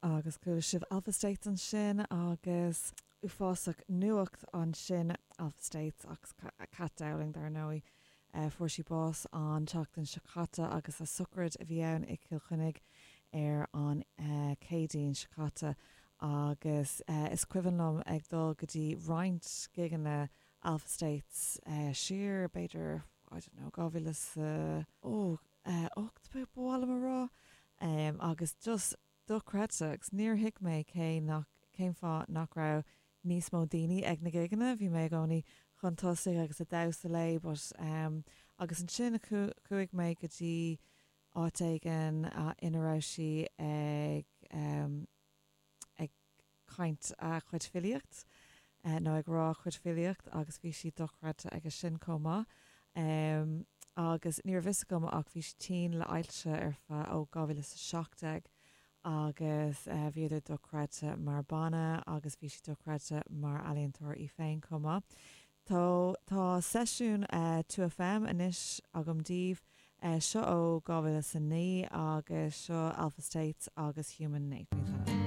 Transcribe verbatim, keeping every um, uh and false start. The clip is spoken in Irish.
Agus chuala sibh Alpha States ansin agus uafásach nuacht ansin Alpha States agus Cat Dowling dar ndóigh. Uh, fuair sí bás an tseachtain seo caite agus a sochraid a bhí ann i gCill Chainnigh ar an uh, Céadaoin seo caite agus uh, is cuimhin liom ag dul go dtí roinnt gigeanna Alpha States uh, siar b'fhéidir I don't know dhá mhíle uh, ó ocht ba mhaith liom a rá um, agus just dochreidte agus níor thuig mé cé nach cén fáth nach raibh níos mó daoine ag na gigeanna, bhí mé i gcónaí chun tosaigh agus ag damhsa léi, but um, agus ansin chuaigh mé go dtí áit éigin uh, ina raibh sí ag um, ag caint a chuid filíocht uh, nó ag rá chuid filíocht agus bhí sí dochreidte aige sin chomh maith. Um, agus ní raibh a fhios agam ach bhí sí tinn le ailse ar feadh ó dhá mhíle seacht déag agus uh, bhíodar dochreidte mar bhanna agus bhí sí dochreidte mar ealaíontóir í féin chomh maith. Tá tá seisiún uh, two FM anois agam daoibh uh, seo ó dhá mhíle a naoi agus seo Alpha States agus Human Nature.